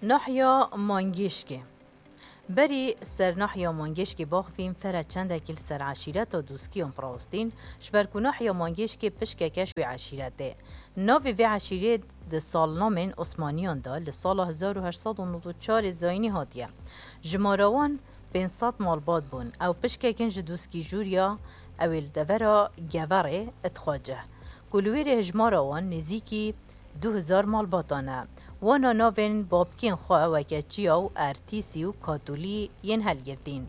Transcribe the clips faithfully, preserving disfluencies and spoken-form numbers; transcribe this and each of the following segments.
Nahya Mangêşkê. Berî ser nahya Mangêşkê baxivîn fere çendekî li ser eşîreta Dûskiyan birawistîn, ji ber ku nahya Mangêşkê pişkeke ji wê eşîretê. Navê vê eşîrê di salnamên Osmaniyan de li sala hezar û heşt sed û nod û çar zayînî hatiye. Jimara wan pênc sed malbat bûn. Ew pişkekin ji Dûskî Jûriya, ew ê li devera Geverê, Itxacih, ku li wêrê hijmara wan nêzîkî du hezar malbatan e. Wana navên babkên xwe weke Çiya û Ertîsî û Katûlî yên helgirtîn.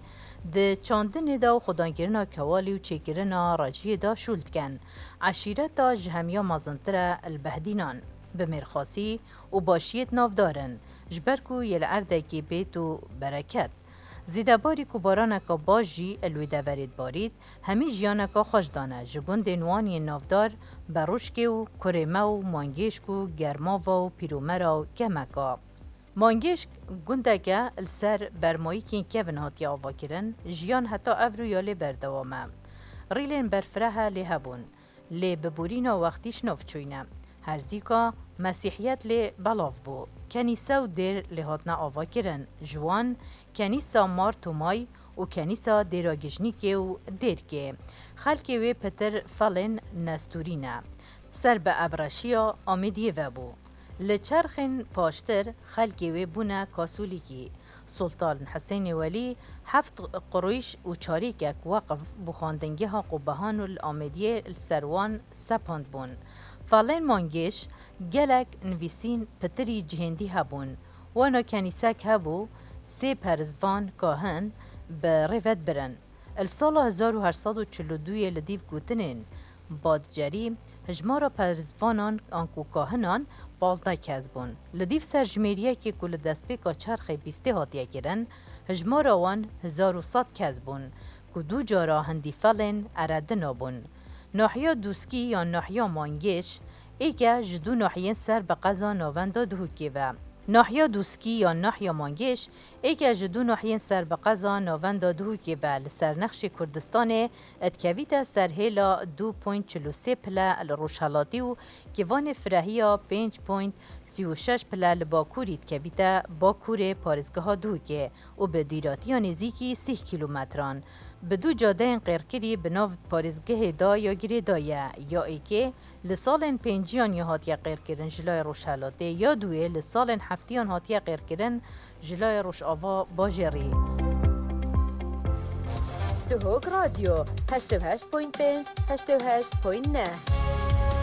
Di çandinê de û xwedankirina kewalî û çêkirina rejiyê de şûl dikin. Eşîreta ji hemiya mezintir e li Behdînan, bi mêrxasî û başiyê navdar in, ji ber ku yê li erdekê bêt û bereket. Zêdebarî ku baraneka baş jî li wê deverê dibarît, hemî jiyaneka xweş dane ji gundên wan yên navdar Berûşkê û Kurême û Mangêşk û Germava û Pîromera û Kemeka. Mangêşk gundeke li ser bermayîkên kevin hatiye avakirin, jiyan heta evrû ya lê berdewam e. Rîlên berfireh lê hebûn, lê bi borîna wextî ji nav çûyne. Herzîka Mesîhiyet lê belav bû. Kenîse û dêr lê hatine avakirin. Ji wan Kenîsa Mar Tomay û Kenîsa Dêra Gijnîkê û Dêrkê. Xelkê wê pitir felên Nestûrî ne. Ser bi Ebreşiya Amêdiyê ve bû. Li çerxên paştir xelkê wê bûne Kasûlîkî. Sultan Husênê Welî heft qurûş û çarîkek weqf bû xwendingeha Qubehan û li Amêdiyê li ser wan sepandbûn. Felên Mangêş gelek nivîsîn pitirî cihêndî hebûn. Wana kenîsek hebû, sê perizvan kahin bi rêvet birin. Li sala hezar û heşt sed û çil û duyê li dîv gotinên Badcerî, hijmara perizvanan anku kahinan pazdeh kes bûn. Li dîv serjimêriyekê ku li destpêka çerxê bîstê hatiye kirin, hijmara wan hezar û sed kes bûn, ku du cara hindî felên eredina bûn. Nahiya Dûskî yan Nahiya Mangêş, êke ji du nahiyên ser bi qeza Navenda Duhokê ve. Nahiya Dûskî yan Nahiya Mangêş, êke ji du nahiyên ser bi qeza Navenda Duhokê ve li ser nexşê Kurdistanê dikevîte ser hêla du point çil û sê pile li rojhelatî û kivanê firehiya pênc point sî û şeş pile li bakurî dikevîte bakurê parêzgeha Duhokê û bi dûratiya nêzîkî sîh kîlometran. Bi du cadeyên qêrkirî bi nav parêzgehê de ya girêdayî ye, ya êkê li salên pênciyan ya hatiye qêrkirin ji layê rojhelatê, ya duyê li salên heftiyan hatiye qêrkirin ji layê rojava bajêrî. Duhok Radyo, heşt û heşt point pênc, heşt û heşt point neh.